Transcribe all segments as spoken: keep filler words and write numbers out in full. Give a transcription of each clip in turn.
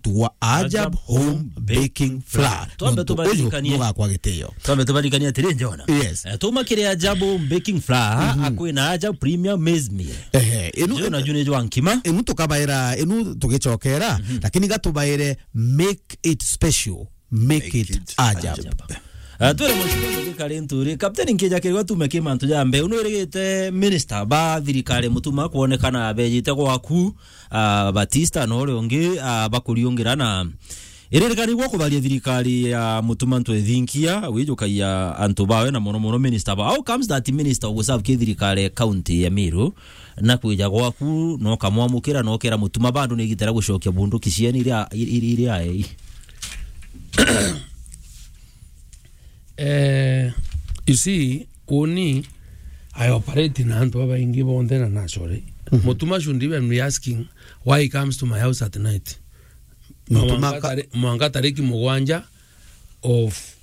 tugwa Ajab Ajab Home Home Baking Flour. Twambe Nontu uyu tubaririkanie. Nugakwa gitio. Twambe tubaririkanie atiri, Jona. Yes. Eh, tuma kiri Ajab Home Baking Flour, Mhm. akwina Ajab Premium Maize Meal. Ehe, inu, Jona, june jwa nkima. Inu tukabaira, inu tugicokera, Mhm. lakini gatubaire make it special. Make Make it it Ajab. Ajab. Ah, twere muciko thirikari nturi. Captain Nkija kirwa tume ki mantu ja mbeu. Nwirigite minister ba thirikari Mutuma kwonekana bejite gwaku, ah, Batista na uria ungi, ah, bakuriungira na iririkani gwa kubaria thirikari ya Mutuma ntwethinkia wijukagia antu bawe na mono mono minister ba. How comes that minister uguserve ki thirikari ya county ya Meru na kwija gwaku no kamwamukira no kera Mutuma bado ni gitera gucokia bunduki cieni iria, iria, iria ei? Eh, you see, uni, I operate na antu babaingi bonthe na naturally. Mhm. Mutuma should even be asking why he comes to my house at night. Mutuma mwanka ka- tari-, mwanka tariki mugwanja of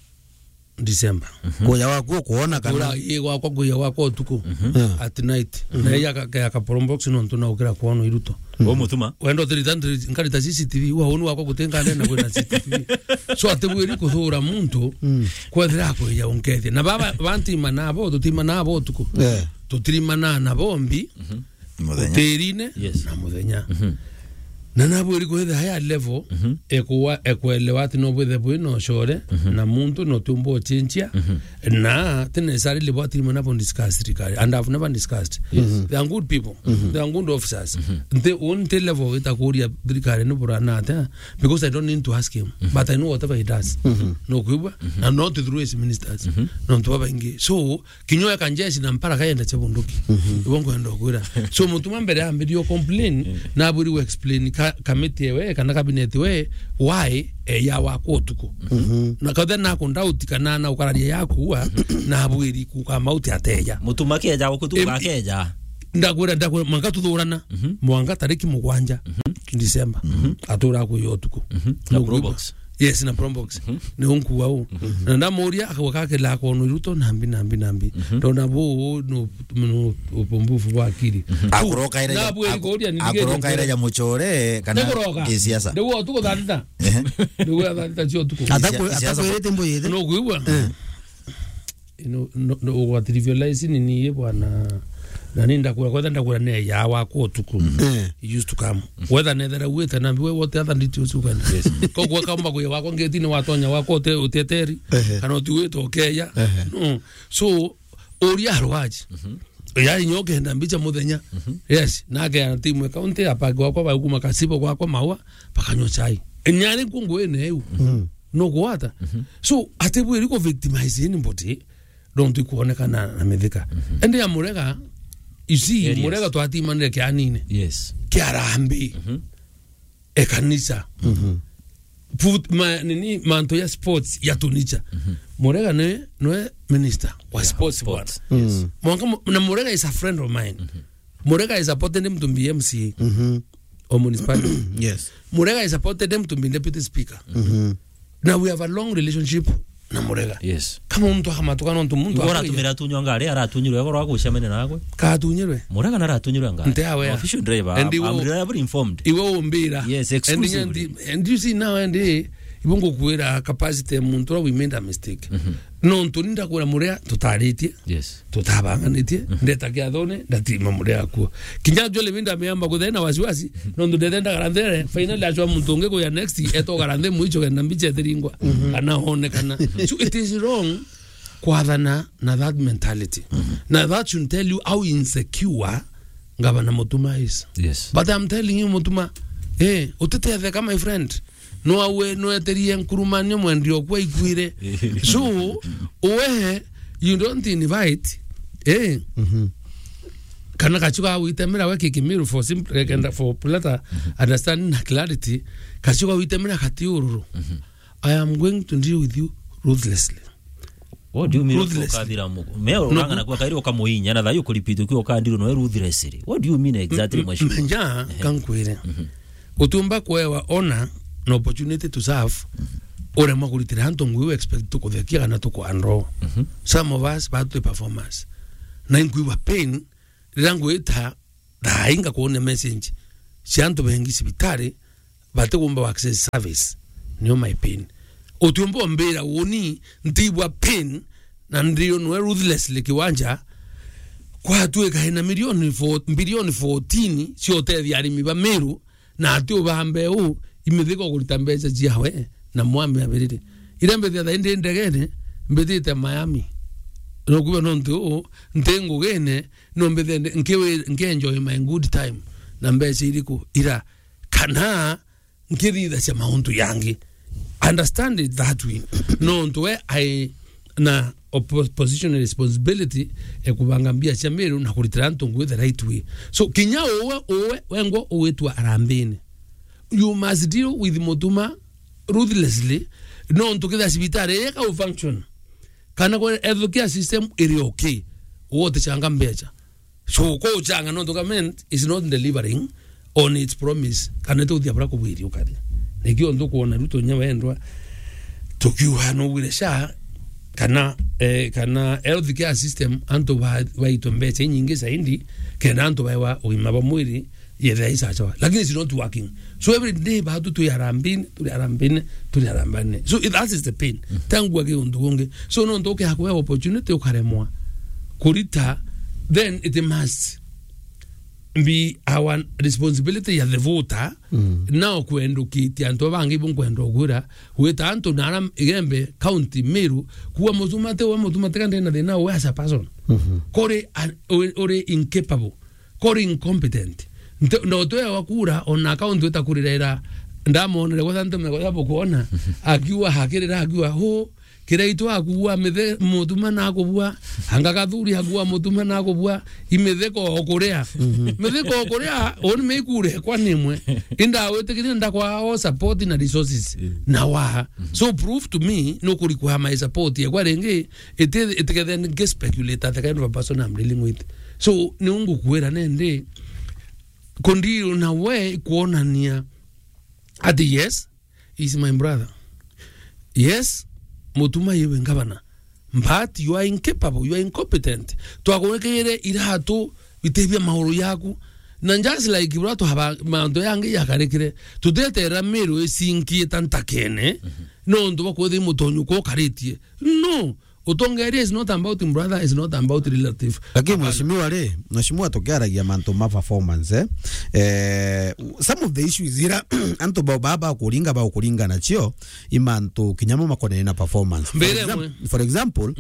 December. Mhm. Kuya gwaku ukuona kana Kura, ii gwakwa kuya gwakwa utuku. Mhm. Yeah. At night. Mhm. Na iya ka, ka, ka promo box nontu na ukira kwona iruto. O Mutuma. Wenda utirita ndiri-, nkarita C C T V, wa unu wakwa guti nkande na kwina C C T V. So, ati bwiri kuthura muntu, Mm. kwethira akwija unkethia. Na baba, bantima nabo, tutima nabo tuku. Yeah. Tutirima na, na bombi, Mhm. Muthenya. Utirine Yes. na muthenya. Mhm. Na nabwiri kwithira higher level, Mhm. ekwa-, ekwelewa ati no bwithe bwi na ucore, Mhm. na muntu no tiumba ucinchia, Mhm. na tene sari libo ati mana bo discuss thirikari. And I've never discussed. Yes. Mhm. They are good people. Mhm. They are good officers. Mhm. Nti, unti level itakuria thirikari ni burana atia, because I don't need to ask him. Mhm. But I know whatever he does. Mhm. No kwibwa, Mhm. and not through his ministers. Mhm. No ntu babaingi. So, Kinya eka njeshi na mpara kayenda cia bunduki. Mhm. Ibo nkwenda kwira. So, Mutuma mbere ambirie o complain, Mm. na abwiri we explain ka, kamiti ewe, kana cabinet we, why, eh, ya wakwa utuku. Mhm. Na kathe na kundauti kana na ukararia yaku wa, na abwiri kukama uti ateja. Mutuma keja guku tu Em, gakeja. Ndakwira, ndakwira, mwanka tuthurana, Mhm. mwanka tariki mugwanja, Mhm. December. Mhm. Atura kuya utuku. Mhm. Na Nugwibwa? Probox. Yes, na Probox. Mhm. Ni unkua u. Mhm. Na ndamuria, akauga kakila akono iruto, nambi, nambi, nambi. Mhm. Ndona bu, no, no, upumbufu bwa akili. Mhm. Tu, Akuroka ira ya, na bweri aku-, kuria ni akuroka ira ya muchore, kana Nikuroka. Kisiasa. Ndio utuku thanita. Ehe. Ndio thanita cio tuku. Ata Sia-, kwe-, ata siasa kwirite mbo yete? No kuigua? Eh. Ino, no, no, ugwa trivialize ni niye bwana. Na ni ndakwira, kwetha ndakwira ne ya wakwa utuku. Eh. He used to come. Whether nethera wita na mbiwe wote other details ukana. Yes. Ko kwa kamba kuya wakwa ngeti ni watonya wakwa uteteri. Ehe. Kana utiwita ukeya. Ehe. No. So, uria arwaji. Mhm. Yari nyoke nda mbicha muthenya. Mhm. Yes, nake ana timu ya county apa gwakwa ba kuma Kasibo gwakwa mawa, bakanywa chai. Nyari kungu ene eu. Mhm. No gwata. Mhm. So, ati bwiri ku victimize anybody. Don't ikuonekana na mithika. Mhm. Ende ya Murega, you see, Areas. Murega twatimanire kianine. Yes. Kia Harambee. Mhm. E kanisa. Mhm. Foot-, ma, nini, mantu ya sports ya tunicha. Mhm. Murega ne, nwe minister wa Yeah, sports sports. Bwana. Yes. Mm. Mwanka mu-, na Murega is a friend of mine. Mhm. Murega is supported him to be M C A. Mhm. Or municipality. Yes. Murega is supported him to be deputy speaker. Mhm. Now we have a long relationship na Murega. Yes. Kama muntu akamatuka nontu muntu Igwe akwija. Aratumira atunywa ngari, aratunyirwe igoro agucemania nagwe. Katunyirwe. Murega naratunyirwe ngari. Nte aware. Official driver. And I'm iwe, reliably informed. Iwe umbira. Yes, and exclusively. And you see now, and, eh, ibo ngukwira capacity ya muntu ura we made a mistake. Mhm. Nontu ni ndakwira Murega tutaritie. Yes. Tutabanganitie, mhm, ndeta kiathone, ndatima Murega kuo. Kinya Joel Minda ameamba kuthena wasiwasi, mhm, nontu ndethe ndagara nthere, finally acwa muntu ungi kuya next, etogara nthi mwicho kenda mbicha ethiringwa, mhm, kana onekana. So it is wrong kwathana na that mentality. Mhm. Na that should tell you how insecure Governor Mutuma is. Yes. But I'm telling you, Mutuma, eh, utitetheka, my friend. No awe, no eterie nkurumanio mwendia okwa ikwire. So, we, you don't invite, eh? Mhm. Kana kachuka witemera we kikimiru for simple, eh, kenda for better understanding na clarity. Kachuka witemera kati ururu. Mhm. I am going to deal with you ruthlessly. What do you mean? Ruthlessly. Ukathira mu-, me urang'ana kwa kairi ukamuinya na thayu kuripita ukiwa ukandiru no ruthlessly. What do you mean exactly, mheshimiwa? Menja, ehe, kankwire. Mhm. Utiumba kuewa honor na opportunity to serve, mhm, uremwa kuritira antu ngui u expect tukuthekia kana tukwandro. Mhm. Some of us, batu performers. Na inkuigua pain, rira ngwita, thaa inga kuona message cia antu bengi cibitari, batigomba access service. Nio my pain. Utiumba umbira uni ntigua pain na ndio nwe ruthlessly kiwanja kwatuika ina milioni four, bilioni fourteen cia utethia arimi ba Meru, na ati ubambe u imithiko kurita mbeca ciawe na mwami abiriri. Ira mbithia thaindi ndegene, mbithite Miami. Nokuba nontu u nti ngugine, no mbithende nkiwi-, nkienjoy my good time na mbeca iriku ira kana nkithithacia mauntu yangi. Understand it that way. Nontu we ai na oppo-, position and responsibility ya kubanga mbia cia Meru na kuritira antu ngui the right way. So, kinya uwe, uwe, wengwa ugitwa arambini, you must deal with Mutuma ruthlessly, nontu kithia cibitari ii ka u function, kana kwa healthcare system iri okay, uwe utichanga mbeca. So, ko uchanga nontu government is not delivering on its promise, kana ituthia bura kubwiri ukaria. Nikio ntukwona Ruto nya wendwa, tukiuga nugwire SHA, kana, eh, kana health care system, antu ba-, baitwe mbeca inyingi zaidi, kenda antu baewa ugima bwa mwiri, yethira isachawa. Lakini it's not working. So every day batu turi harambini, turi harambini, turi harambini. So that is the pain. Tangu agi untu ungi. So no ntoke hakwe opportunity ukaremwa kurita, then it must be our responsibility ya the voter, now kwendukitia antu bangi bunkwenda ugwira, gwita antu na ara Igembe County, Meru, kuwa Mutuma ti we, Mutuma ti kande na thina we as a person. Kuri an-, uri, uri incapable. Kori incompetent. Nte-, ndo twewa kura, ona account itakurirera. Ndamonere gwetha ntume gwetha bukwona. Akiuga hakirira, akiuga, "Hu, kiraitu akuua mithe, Mutuma nakubua, anga Gathuri akuua Mutuma nakubua, imitheko okuria." Mitheko okuria, oni meikure kwa nimwe. Indawitikirie ndakwa all support na resources. Na wa. So prove to me, nukuri kwa my support yekwa ringi, iti, itikethe nge speculate at the kind of a person I'm dealing with. So, ni ungukwira nende, kundiru na we kuonania ati yes, he's my brother. Yes, Mutuma iwe ngavana. But you are incapable, you are incompetent. Twakugikire iratu bitibia mauru yaku. Na just like bura tuhaba mantu yangi yakarikire, tutetera Meru isinkie ta ntakene, nontu bwa kwithia mutonyu ko ukaritie. No, utongeria is not about brother, is not about relative. Lakini mheshimiwa ri, mheshimiwa tukiaragia mantu ma performance, eh? Eh, some of the issues ira antu ba, ba, ba kuringa, ba kuringa nacio, i mantu kinya mo makonene na performance. For exam-, for example,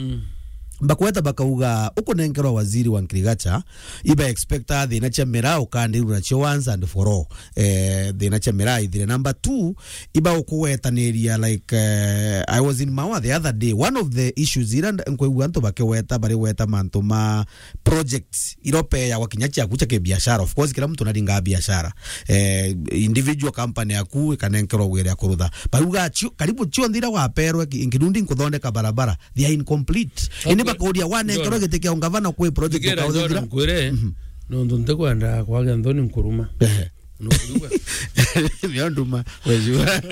bakweta bakauga ukunenkerwa waziri wa agriculture, iba expecta thina cia miraa ukandirwa nacio once and for all. Eh, thina cia miraa ithire. Number two, iba ukuwetaniria, like, eh, I was in Maua the other day. One of the issues ira nda-, nkwigua antu bakiweta, bari weta mantu ma projects iropeagwa kinya ciaku cia kibiashara. Of course, kila mtu naringa biashara. Eh, individual company yaku ikanenkerwa wira ya kurutha. Bauga cio-, karibu cionthe ira waperwe ki-, inkirundi nkuthondeka barabara. They are incomplete. Ini bakuria wanenkerwa giti kia ungavana kwi project Thikira, ukauthithira. Nkwire, nontu ntikwenda kwagia nthoni nkuruma. Ehe. Nukuigua? Nio nduma, wejua.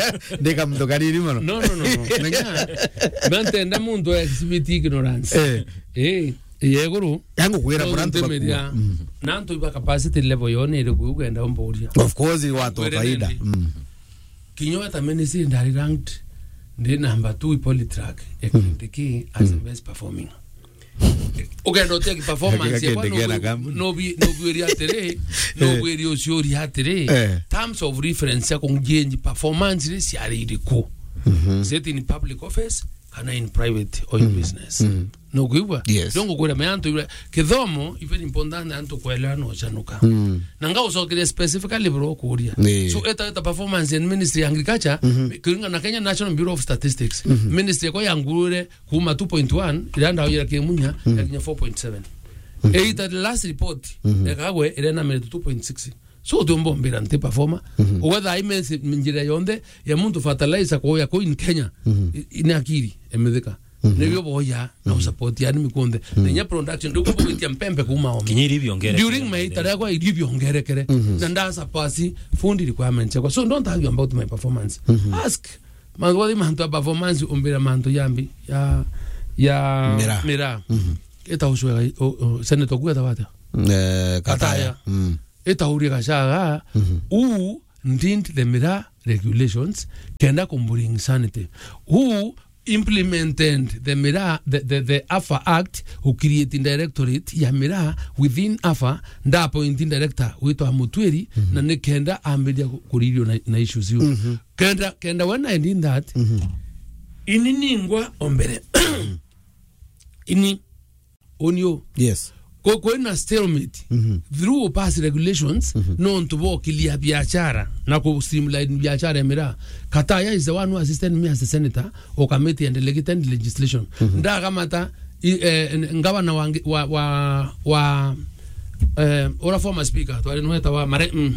Ndika muntu kanini mono. No, no, no, no. Menya, mantenda muntu exhibit ignorance. Eh. Eh, yeguru. Yangu kwira nontu bura antu ntimeria, na antu iba capacity level yo ni iriku ugenda umburia. Of course, watu wa kawaida. Kinya we ta ministry ndari ranked, ndi number two i Polytrack, e Kindiki as the best performing. Ugenda utia ki performance yakwa, no bwi-, no bwiri atiri, no bwiri uciuria atiri, terms of reference ya kungienji performance ri ciari iriku? Is it in public office kana in private or in business? Nukwigua? Yes. Ndio ngukwira me antu ibura. Kithomo, even important antu kwelewa no chanuka. Na nga ucokeria specifically bro kuria. So, eta, eta performance in Ministry ya Agriculture, kuringana na Kenya National Bureau of Statistics. Ministry yako yangurure kuma two point one, irenda ujira kimunya, yakinya four point seven. Eta the last report, ya Kagwe, irenda mire two point six. So, utiumba umbira nti performer. Whether I mess njira yonthe, ya muntu fertilizer kuya ku in Kenya, i-, ina akiri, emethika. Nibio boya, na usupport yani mikunthe. Na inya production, ndio kubugitia mpembe kuma omi. Kinya irio biongerekere. During my itare kwa irio biongerekere. Na nda surpass food requirements yakwa. So don't argue about my performance. Ask. Mantu, mantu ya performance, umbira mantu yambi, ya, ya miraa. Miraa. Eta ucwega, o, o, Senator kuga tawata. Eh, Kataya. Kataya. Eta uria Gachagua, who did the miraa regulations, kenda ku bring sanity. Who implemented the Miraa, the, the, the AFA Act, u create directorate ya Miraa within AFA, nda appoint director witwa Mutwiri, na ni kenda ambiria ku-, kuririo na, na issues iu. Kenda, kenda when I did that, ini ningwa o mbere. Ini Uni u? Yes. Ku-, kwina stalemate. Through pass regulations, nontu bokilia biashara na ku streamline biashara ya miraa. Kataya is the one who assisted me as a senator or committee and delegated legislation. Ndakamata, i-, eh, n-, ngavana wa ngi-, wa, wa, wa, eh, ura former speaker, twari nweta wa Mare-, mm,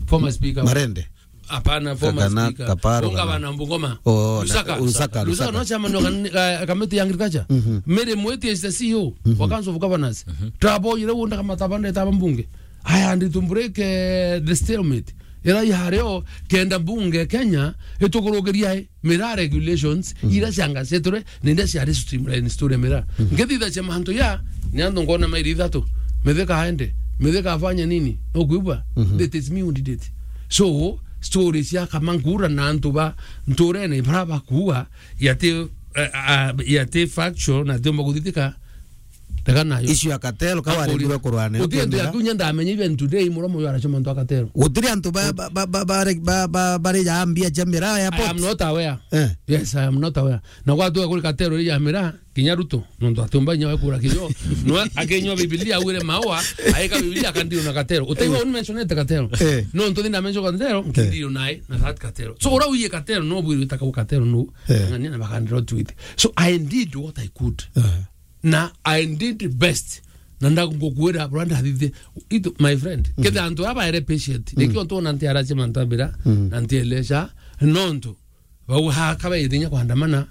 former speaker. Marende. Hapana, former Kakana, speaker. Kaparo, Unga kana bana Mbungoma. Oh, na-, Lusaka. Lusaka, Lusaka Lusaka. No chairman wa kan-, ka-, kamiti ya agriculture. Mary Mweti is the C E O wa Council of Governors. Tabo ire unda kama tabande taba mbunge. Aya, ndi to break, eh, the stalemate. Ira ya reo kenda bunge Kenya itukurugiria i miraa regulations ira ciangaceture na ira ciari streamline story miraa. Ngethitha cia mantu ya ni antu ngona mairi ithatu. Mithika aende. Mithika afanye nini? No kuigua? That is me who did it. So, story cia kama nkura na antu ba nturene bara bakuua, yati, eh, ah, yati factual na tiumba kuthitika, rega nayo. Issue ya cartel, ka waregirwe kurwa nayo. Uti ndu ya kunya ndamenya even today, muromo yo arachoma ntu ya cartel. Gutiri antu ba, ba, ba, ba, ba, ba, ba, bari ya mbia cia miraa ya I am pot. Not aware. Eh. Yes, I am not aware. Na gwatuga kuri cartel ri ya miraa, kinya Ruto, nontu atiumba inya we kura kijo. No akinywa Biblia, agwire maua, aika Biblia, akandio na cartel. Utaigua uni mentionete cartel. Eh. Nontu thinda mention cartel, nkindio nae na that cartel. So, ura uye cartel, no bwiri witaka cartel, no. Eh. Ng'ania na bakandiro tweet. So, I did what I could. Eh. Na I did best. Na ndagukwira, bro, ndathithie. Ito, my friend, ketha antu aba ere patient. Nikio ntona nti arache mantu abira, na nti elesha, nontu bau haka baithinya kwandamana,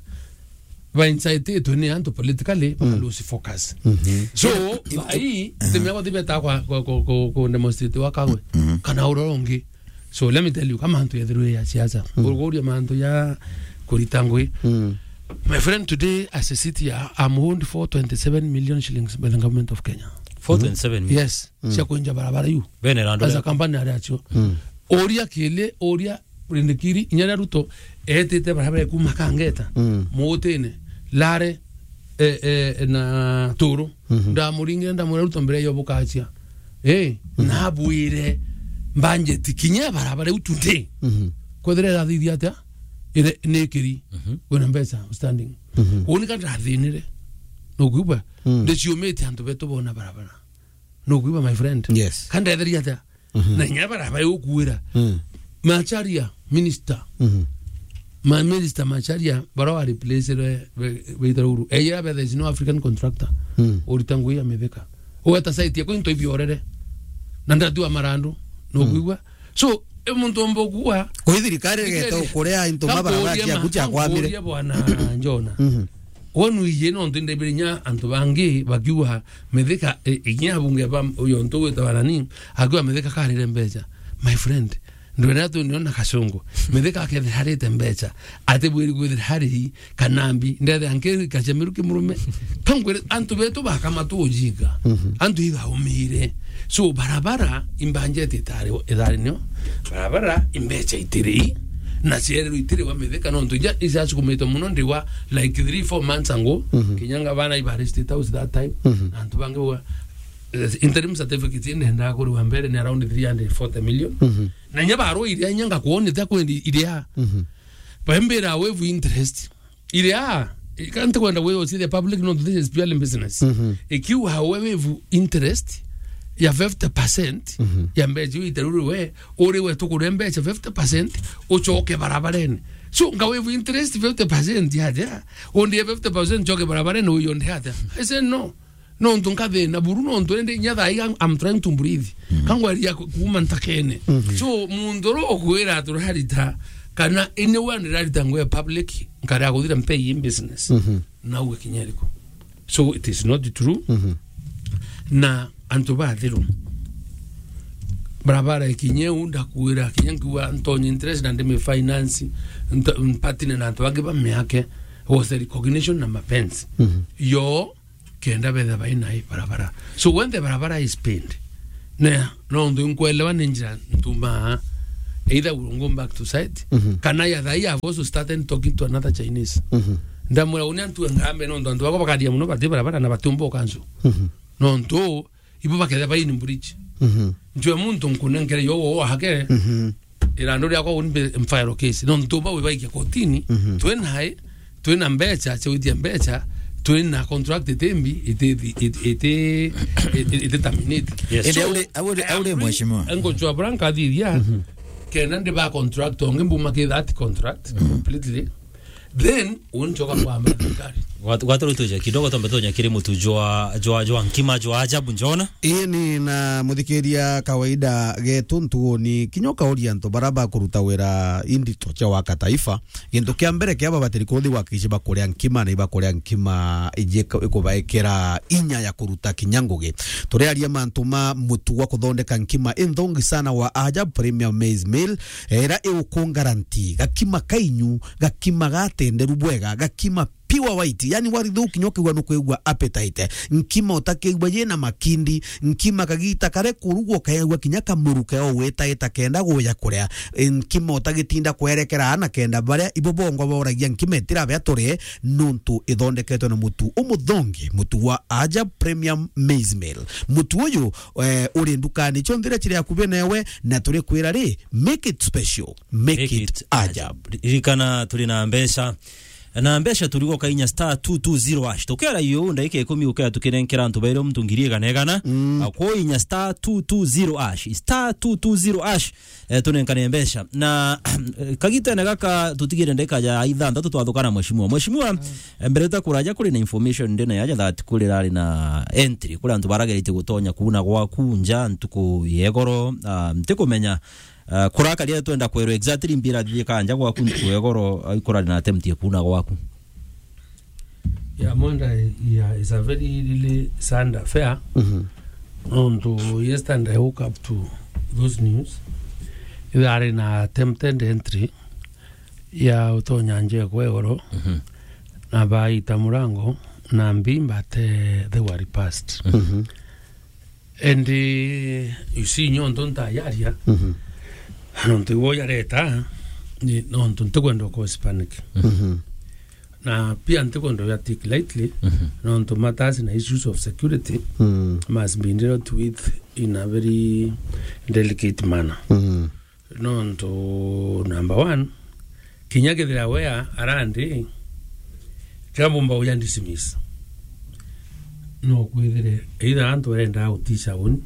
ba incititwe ni antu politically, baka lose focus. So, bai, timia kwa tibeta kwa, kwa, kwa, kwa, kwa demonstrate wa Kagwe. Kana ura ungi. So, let me tell you, kama antu yethirwe ya siasa, kuruguria mantu ya kurita ngui. My friend, today, as a city, I, I'm owed four twenty-seven million shillings by the government of Kenya. Four twenty-seven million? Yes. Cia kwenja barabara yu. Bene rando. As a company ari acio. Oria kile, oria Rindikiri, inya ria Ruto, etite barabara kuma Kangeta, Mutine, Lare, eh, eh, na Turu. Ndamuringire, ndamwira, "Ruto, mbere yo bukachia." Eh, na abwire, "Mbanjeti kinya barabara iu today. Kwethira irathithia atia? Ire, ni kiri, wina mbeca standing." Uni ka ndathinire. Nukwigua? Ndiciumite antu betu bona barabara. Nukwigua, my friend? Yes. Ka ndetheria atia? Na inya barabara iu ukuira. Macharia, minister. Ma minister Macharia, bara wa replace re, be, beita ruru. Eya be, there is no African contractor. Urita ngui ya Mithika. Ugeta site yako into ibiorere. Na ndatua marandu. Nukwigua? So, e muntu omba kuwa. Kwi thirikari igeta ukuria into mabara cia kucha kwamire. Bwana Njona. Wonu ije no ntu ndebere inya antu bangi bakiuga Mithika, e, inya abunge ba uyo ntu wita barani, akiuga Mithika karire mbeca. My friend, ndwena tu niona kashungu. Mithika akethira harite mbeca. Ati bwiri kwithira hari kanambi, ndethe anke kachemeru kimurume. Kangwire antu betu bakama tu ujinga. Antu ithaumire. So, barabara, imbanjeti itari, itari nio. Barabara, imbeca itiri. Na cierero itiri wa Mithika, no ntu ija, ija cikumitwe muno ndiwa, like, three, four months ago. Kinyanga bana ibari State House that time. Na antu bangi wa, eh, interim certificate ine nda kuriwa mbere ni around three hundred forty million. Na inya barwa iria inya ngakuonia ta kwendi iria. Bambira waive interest. Iria, I can't kwenda wewe ucithia public, no, this is purely business. Ikiwa wewe waive interest ya fifty percent ya mbeca iu iteruru we, uri we tukure mbeca fifty percent, uchoke barabarene. So, nga waive interest fifty percent ya ja, undi fifty percent choke barabarene, uyu undi atia? I said, "No." Nontu nkathina buru, nontu indi inya thaa ii I'm, I'm trying to breathe. Kangweria ku-, kuuma ntakene. So, muntu uru ukwira turarita, kana ini we ndirarita ngwe public, nkarea kuthira mpei in business. Nauga kinya iriku? So, it is not true. Na antu bathiru. Barabara ikinye u ndakwira, kinya nkiuga ntonye interest na ndimi finance, nto-, mpatine na antu bangi ba miake, was the recognition na mapenzi. Yo, kenda betha baina i barabara. So when the barabara is pained, na, no ndu nkwelewa ni njira ntuma either we will go back to site, Mhm. kana ya thaa hii I've also started talking to another Chinese. Mhm. Ndamwira, "Uni antu engambe, nontu antu bakwa bakaria muno, bati barabara na batiumba ukansu." Mhm. Nontu ibo bakethira bai in bridge. Mhm. Ntwe muntu nkunenkere yo wo hake. Mhm. Irandu riakwa uni mbe mfile case. Nontu bau ibaikia kotini, Mhm. twina hai, twina mbecha, cia gwithia mbecha, twina contract itimbi, iti, iti, iti, iti, iti terminate. Yes. Indi So, aure, aure, aure, mheshimiwa. Engo chwa bura nkathithia, Mhm. kenda ndi ba contract, ongi mbuma ki that contract, Mhm. completely. Then, unchoka kwamba thirikari. Gwatu-, gwaturutuja kidogo, tombe tunya kiri mutu jwa, jwa, jwa nkima, jwa ajabu, njona. Ii ni na muthikiria kawaida getu ntuuni, kinya ukauria antu bara bakuruta wira indito cia waka taifa, gintu kia mbere kia babatiri kuthi wakici bakuria nkima na ibakuria nkima iji ikubaikira inya ya kuruta kinya ngugi. Turiaria mantu ma mutu wa kuthondeka nkima inthongi sana wa Ajab Premium Maize Meal, era iukungaranti gakima kainyu, gakima gatenderu bwega, gakima pure white, yani warithuki nyo kigwa nukwigua appetite. Nkima utakiigua yina makindi, nkima kagita kare kurugwo kaigua kinya kamuru keo witaita kenda guya kuria. E, nkima utagitinda kwerekera ana kenda baria ibo bongo boragia nkima itirabe aturi nuntu ithondeketwe na mutu umuthongi, mutu wa Ajab Premium Maize Meal. Mutu uyu, eh, uri ndukani cionthe iria ciri akubi newe, na turi kwira ri, make it special, make it Ajab. Ririkana turi na mbeca na mbeca turigo kainya star two two zero hash. Tukera yu, ndagika ikumi ukea tukinenkera antu bairi muntu ngiri igana igana. Mm. Akwo inya star two two zero hash. Star two two zero hash. Eh, tunenkane mbeca. Na, eh, kagitene gaka tutigire ndagika ya ithanthatu twathukana mheshimiwa. Mheshimiwa, Mm. eh, mbere ta kuraja kuri na information ndina yaja that kuri rari na entry. Kuri antu baragerite gutonya kuuna gwaku nja ntuku yegoro, ah, ntikumenya Ah, kurakaria twenda kwerwa exactly mbira thithie kanja gwaku ntuku ya igoro, ah, ikurari na attempt ya kuuna gwaku. Yeah, Mwenda, yeah, it's a very really sad affair. Mhm. Nontu yesterday I woke up to those news. Ithari na attempted entry ya utonya nje kwa igoro, Mhm. na baita murango na mbimba te they were repassed. Mhm. And, eh, you see, nyo ntu ntayaria, Mhm. nontu iwe yareta, ni nontu ntikwenda cause panic. Mhm. Na pia ntikwenda ya take lightly, Mhm. nontu matters na issues of security Mm. must be dealt with in a very delicate manner. Mhm. Nontu, number one, kinya kethira we a-, arandi, kira bumba uya dismiss. No kwithire, either antu arenda gutisha uni,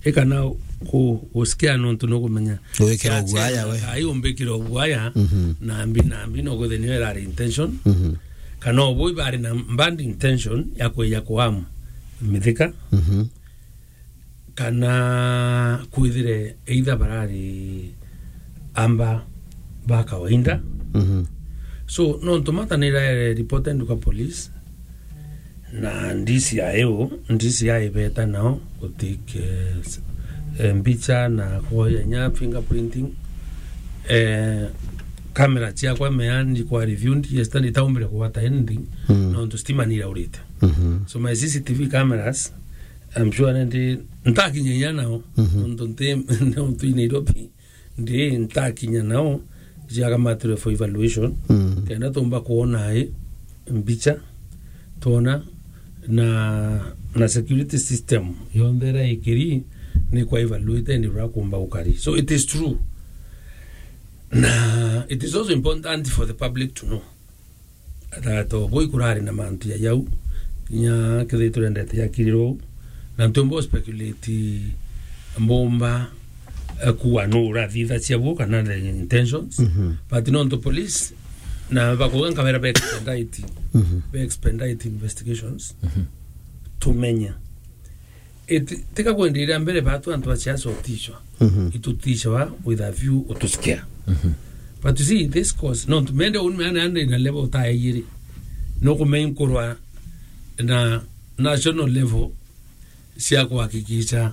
ikana ku-, gusikia nontu nukumenya. Gwikira uguaya we. Ai umbikira uguaya, Mhm. na mbi, na mbi no kwithire niyo irari intention. Mhm. Kana ubu ibari na bad intention ya kweja kuamu mithika. Mhm. Kana kwithire either barari amba ba kawaida. Mhm. So, nontu mata niraere reported kwa police, na D C I o, D C I beta nao gutake, eh, mbicha na kuoya nya fingerprinting. Eh, camera ciakwa meani kwa reviewed yesterday, itaumbire kugwata anything, Mm. nontu stima niraurite. Mhm. So, my C C T V cameras, I'm sure nandi ntakinya inya nao, Mhm. nontu nti, nontu i Nairobi, ndi ntakinya nao, ciakamatirwe for evaluation, Mm. kenda tumba kuona i mbicha, twona na, na security system yonthe ira ikiri, ni kwa evaluate ni ura kumba gukari. So it is true. Na it is also important for the public to know. That, uh, bui kurari na mantu ya yau, kinya kethira turendete ya kiriro, na ntumbo speculate mbumba, eh, kuwa no urathitha cia bu kana the intentions. Mhm. But nontu police, na bakuga nkabera be expedite, Mhm. be expedite investigations, Mhm. tumenya. Iti, tika kwenderia mbere batu antu ba siasa utishwa. Mhm. Itutishwa with a view utusikia. Mhm. But you see, this cause, no, mende uni mene ande na level ta yiri. No kumenye kurwa na national level cia kuhakikisha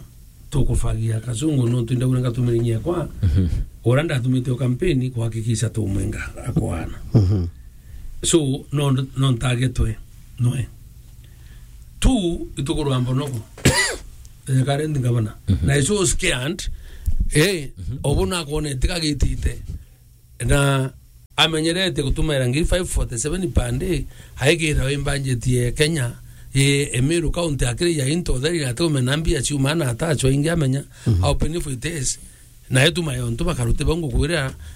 tukufagia kasungu, no twende ure ngatumire nyekwa. Mhm. Ura ndatumite o kampeni kuhakikisha tumwenga akwana. Mhm. So, no, no ntagetwe, noe. Tu, itukurwa mbonoko. Eh, current governor. Mhm. Na is so scared, Eh, obu nakwonete kagitite. Na amenyerete gutumaira ngiri five forty seven per day, aigira wi budget ye Kenya, ye Meru County akiri ya into theri na tume na mbia ciuma na atachwa ingi amenya how painful it is. Na etuma yontu bakaruti bongo kwira